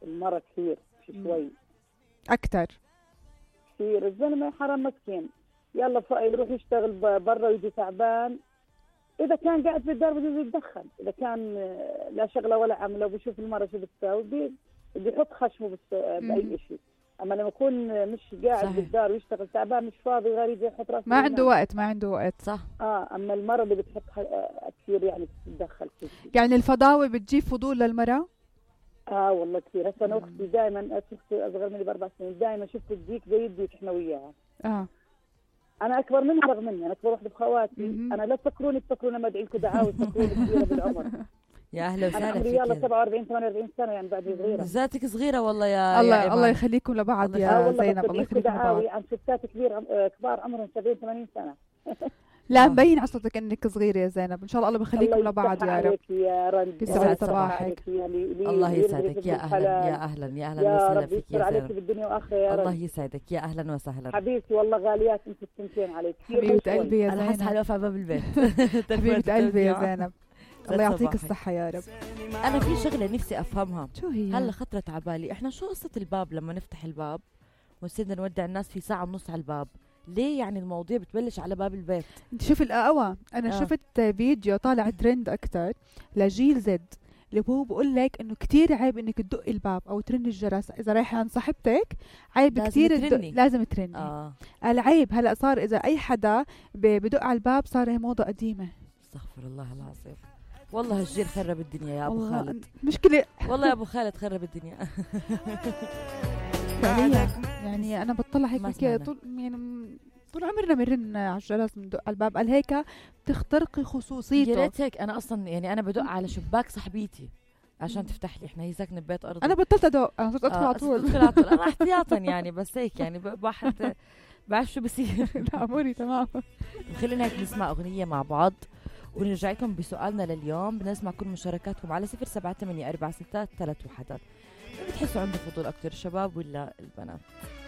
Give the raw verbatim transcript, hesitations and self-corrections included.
المرة كثير شوي اكثر كثير. الزلمه حرام مسكين، يلا يروح يشتغل برا ويجي تعبان، اذا كان قاعد في الدار بده يتدخل، اذا كان لا شغله ولا عمله وبشوف المرة شو بتساوي بده يحط خشمه باي شيء. اما لما يكون مش قاعد صحيح. بالدار ويشتغل تعبان مش فاضي غير يحط راسه ما عنده وقت ما عنده وقت صح. اه اما المرة اللي بتحط كثير يعني بتتدخل كل شيء. يعني الفضاوة بتجيب فضول للمرأة؟ اه والله كثير. هسه انا اختي دائما، اختي اصغر مني باربع سنين، دائما شفت الديك زي الديك احنا وياها. اه انا اكبر منها رغم مني، انا اكبر وحده بخواتي. انا لا تفكروني تفكروني ما ادعي لكم دعاوي، تفكروني كبيره بالعمر. يا اهلا وسهلا فيك. انا يلا سبعة وأربعين ثمانية وأربعين سنه يعني بعد صغيره. ذاتك صغيره والله يا الله يا الله يخليكم لبعض يا آه زينب. الله يخليكم لبعض. عن ستات كبير كبار عمرهم سبعين ثمانين سنه. لا مبين على صوتك انك صغيره يا زينب. ان شاء الله الله بخليكم لبعض يا رب. يا رب يسعد صباحك. الله يسعدك. يا اهلا يا اهلا يا اهلا وسهلا فيك يا عليك بالدنيا واخره يا رب. الله يسعدك. يا اهلا وسهلا حبيبتي والله غاليات انت الثنتين عليك. حبيبه قلبي يا زينب. انا حاسه حالي واقفه على باب البيت. حبيبه قلبي يا زينب. الله يعطيك الصحة يا رب. أنا في شغلة نفسي أفهمها. شو هي؟ هلا خطرت على بالي، إحنا شو قصة الباب لما نفتح الباب ونصير نودع الناس في ساعة ونص على الباب؟ ليه يعني المواضيع بتبلش على باب البيت؟ انت شوف القهوة، أنا آه. شفت فيديو طالع ترند أكتر لجيل زد اللي هو بقول لك إنه كتير عيب إنك تدق الباب أو ترن الجرس إذا رايحة عند صاحبتك، عيب لازم كتير ترني. لازم ترني. آه. العيب هلا صار إذا أي حدا بدق على الباب صار هي موضة قديمة. استغفر الله العظيم. والله الجيل خرب الدنيا يا أبو خالد. مشكلة والله يا أبو خالد خرب الدنيا. يعني, يعني أنا بطلع هيك طول يعني طول عمرنا بنرن على الجرس بندق على الباب، قال هيك بتخترقي خصوصيته. يا ريت هيك. أنا أصلا يعني أنا بدق على شباك صاحبيتي عشان تفتح لي، احنا هي ساكنة ببيت أرضي. أنا بطلت أدق، أنا صرت أدخل على طول. أدخل على طول أنا احتياطا يعني، بس هيك يعني واحد بعرف شو بصير. لا أموري تمام. خلينا هيك نسمع أغنية مع بعض ونرجع لكم بسؤالنا لليوم. بنسمع كل مشاركاتكم على صفر سبعة ثمانية أربعة ستة ثلاثة واحد. بتحسوا عنده فضول أكتر الشباب ولا البنات؟